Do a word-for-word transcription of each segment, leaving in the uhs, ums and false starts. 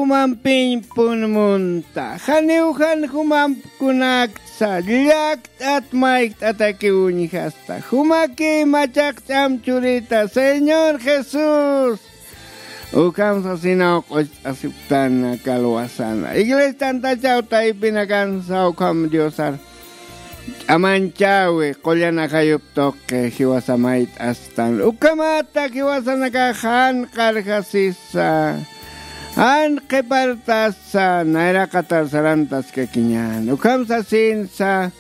jumampiñ pun munta. Janiw jan jumamp kunaksa, llakt'at maykt'atakiw uñjasta. Jumaki machaq ch'am churita, Señor Jesús. Ukham sasinaw q'ucht'asipktana kalwasana. Iglesia tantachaw taypinakansa ukham Diosar ch'amanchawi, qullan ajayup tuqi, jiwasa mayt'astan. Ukhamata jiwasanakax jan qarjasisa, jan qhipartasa, nayraqatar sarantaskakiñän. Ukham sasinsa,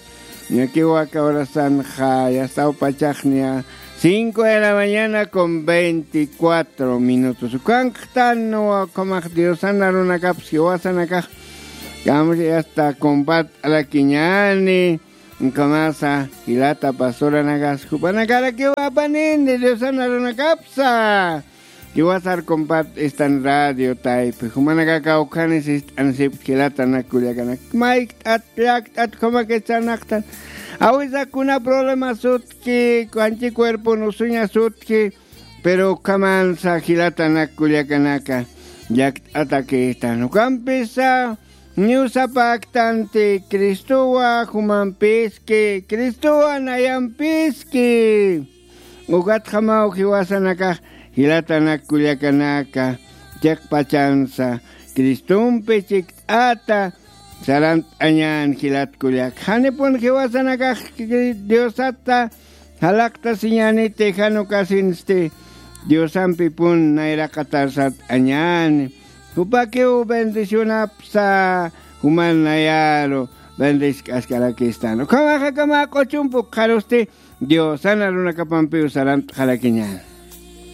ñakiw aka horasanxa, yastaw pachaxniya, cinco de la mañana con veinticuatro minutos. Ukankxtanwa, ukhamax Diosan arunakapas jiwasanakax, kamsi yasta compart'arakiñäni, ukhamasa, jilata pastoranakas, jupanakarakiw apanini, Diosan arunakapsa. Jiwasar compart'istan radio taypi, jumanakakaw khanis ist'ansip jilatanak kullakanak. Maykt'at, llakt'at, ukhamakis sarnaqtan. Awisa kuna problema sutki, kanchi cuerpon usuña sutki, pero ukhamansa jilatanak kullakanaka, llakt'atakistan. Ukampisa, niw sapaktanti, Cristowa jumampiski, Cristowa nayampiski. Ukatjamaw jiwasanakax jilatanak kullakanaka, chiqpachansa, Cristompi chikt'ata, sarant'añän jilat kullak. Janipun jiwasanakax Diosata jalaqtasiñäniti, jan ukasinsti, Diosampipun nayraqatar sart'añäni. Jupakiw bendicionapsa, juman nayaru bendisk'askarakistan. Ukhamax akama q'uchump ukxarusti, Diosan arunakapampiw sarant'xarakiñäni.